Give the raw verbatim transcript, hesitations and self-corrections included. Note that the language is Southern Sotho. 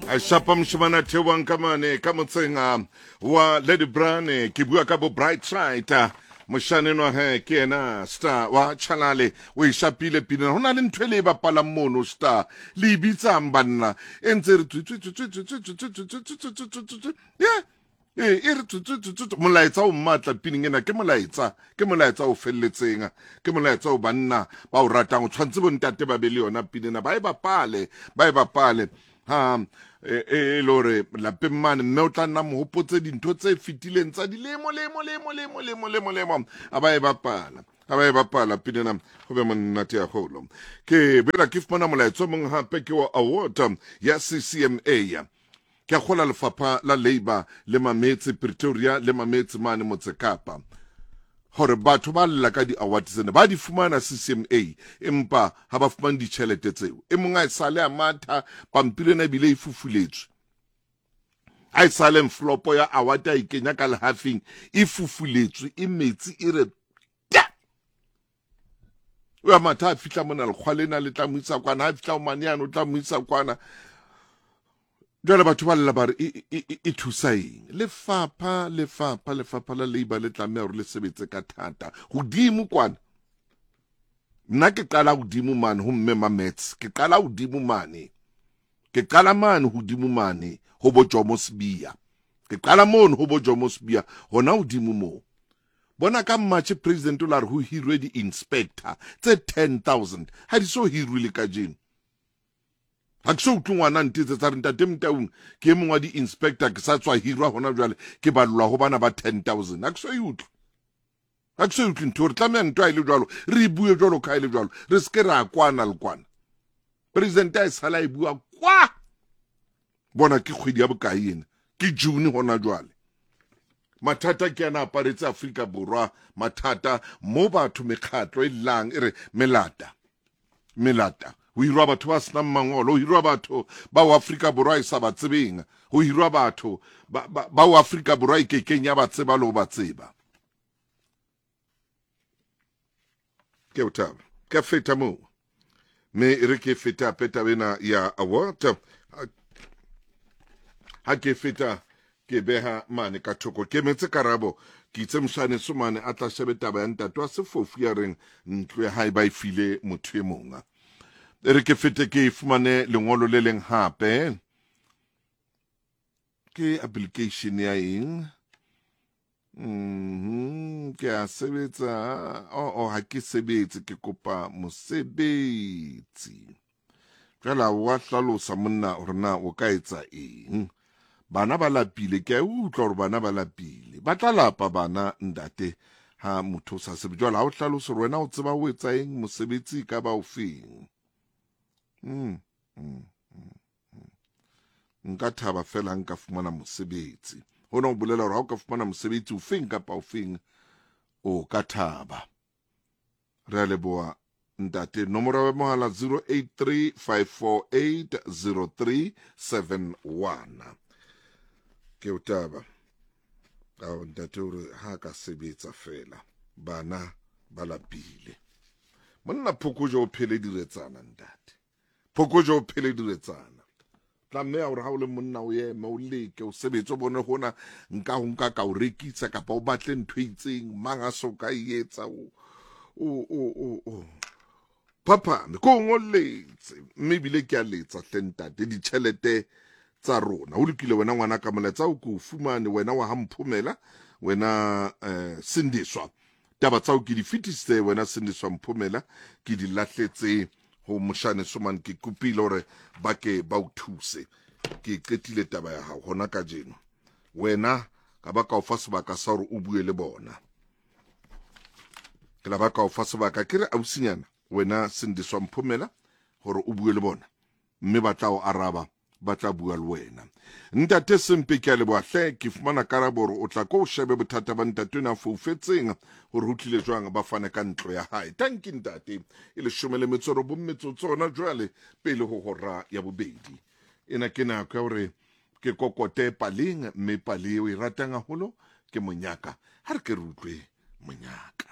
A shapa moshemane a theohang ka mane ka motseng ah, wa Lady Brane. Ke bua ka bo Bright Side. ah, Moshane enwa he ke yena star wa Chalale o e shapile pina. Ho na le ntho e le e bapalang mono star. Le e bitsang banna. E ntse e re tswi tswi tswi tswi tswi tswi tswi tswi tswi tswi tswi tswi tswi tswi. Yeah. Ee, e re tswi tswi tswi tswi tswi. Molaetsa o matla pining ena ke molaetsa, ke molaetsa o felletseng, ke molaetsa o banna ba o ratang. O tshwanetse bontate ba be le yona pina ena, ba e bapale, ba e bapale. Ha e e le hore lapeng mane mme o tla nna mo hopotse dintho tse fetileng tsa dilemo lemo lemo lemo lemo lemo lemo a ba e bapala a ba e bapala pina ena ho be monate haholo. Ke boela ke fumana molaetsa o mong hape ke wa award ya C C M A. Ke a kgola lefapha la Labour le mametse Pretoria le mametse mane Motse Kapa hore batho ba lla ka di-award tsena ba di fumana C C M A empa ha ba fumane ditjhelete tseo. E mong a e sale a matha pampiri ena ebile e fufuletswe. A e sale envelope ya award a e kenya ka lehafing e fufuletswe e metsi e re ta. O ya matha a fihla mona lekgwa lena le tla mo isa kwana, ha fihla ho mane yane o tla mo isa kwana. Jwale batho ba lla ba re e, e, e, e thusa eng? Lefapha, lefapha, lefapha la Labour le tlameha hore le sebetse ka thata. Hodimo kwana. Nna ke qala hodimo mane ho mme Mamets. Ke qala hodimo mane. Ke qala mane hodimo mane ho bo Jomo Sibiya. Ke qala mono ho bo Jomo Sibiya hona hodimo moo. Bona ka March president o la re ho hirwe di-inspector tse ten thousand. Ha di so hirwe le kajeno. Ha ke so utlwe ngwana ntetse tsa re ntate Motaung ke e mong wa di-inspector ke sa tswa hirwa hona jwale ke ballwa ho bana ba ten thousand. Ha ke so e utlwe. Ha ke so e utlwe ntho, re tlameha ntho ha e le jwalo, re e bue jwalo ka ha e le jwalo, re se ke ra kwana le kwana. President a e sala e bua kwa. Bona ke kgwedi ya bokae ena? Ke June hona jwale. Mathata ke ana aparetse Afrika Borwa, mathata mo batho mekgatlo e llang e re melata. Melata. Ho hirwa batho ba senang mangolo, ho hirwa batho ba ho Afrika Borwa e sa ba tsebeng, ho hirwa batho ba, ba, ba ho Afrika Borwa e kekeng ya ba tseba le ho ba tseba. Ke o thaba. Ke a feta moo. Mme e re ke feta hape taba ena ya award. Ha ke feta ke beha mane ka thoko, ke emetse karabo. Ke itse moshane Somane a tla shebe taba ya ntate wa sefofu ya reng ntlo ya hae ba e file motho e mong. E re ke fete ke fumane lengolo le leng hape. Ke application ya eng? Mhm, ke a sebetsa. Oh, oh, ha ke sebetse, ke kopa mosebetsi. Jwale wa hlalosa monna hore na o ka etsa eng. Bana ba lapile, ke a utlwa hore bana ba lapile. Ba tla lapa bana ntate ha motho o sa sebetse. Jwale ha o hlalose hore wena o tseba o etsa eng, mosebetsi e ka ba o feng. Mm, mm, mm, mm. Nka thaba fela ha nka fumana mosebetsi. Hona ho bolela hore ha o ka fumana mosebetsi o feng kapa o feng, o ka thaba. Re a leboha ntate. Nomoro ya mohala zero eight three five four eight zero three seven one. Ke o taba. Ao ntate o re ha ka sebetsa fela bana ba lapile. Monna Phokoje o phele diretsana ntate. Phokoje o phele diretsana. Tlameha hore ha o le monna o eme o leke o sebetse o bone hona nka ho nka ka o rekisa kapa o batle ntho e itseng mang a so ka e etsa o, o, o, o, o. Phaphame, ko ngolletse mme ebile ke a letsa hle ntate ditjhelete tsa rona. Ho lokile wena ngwana ka molaetsa o ko o fumane wena wa ha Mphomela wena, eh, Sindiswa. Taba tsao ke di fetisitse wena Sindiswa Mphomela, ke di lahletse ho moshane Somane, ke kopile hore ba ke ba o thuse. Ke qetile taba ya hao hona kajeno. Wena ka ba ka o fa sebaka sa hore o bue le bona. Ke la ba ka o fa sebaka ke re ausinyana wena Sindiswa Mphomela hore o bue le bona mme ba tla o araba, ba tla bua le wena. Ntate Sempe ke a leboha hle, ke fumana karabo hore o tla ko o shebe bothata ba ntate ona a foufetseng hore ho tlile jwang ba fane ka ntlo ya hae. Tanki ntate, e leshome le metso e robong metsotso hona jwale pele ho hora ya bobedi. Ena ke nako ya hore ke kokote paleng, mme pale eo e ratang haholo ke monyaka. Ha re ke re utlwe monyaka.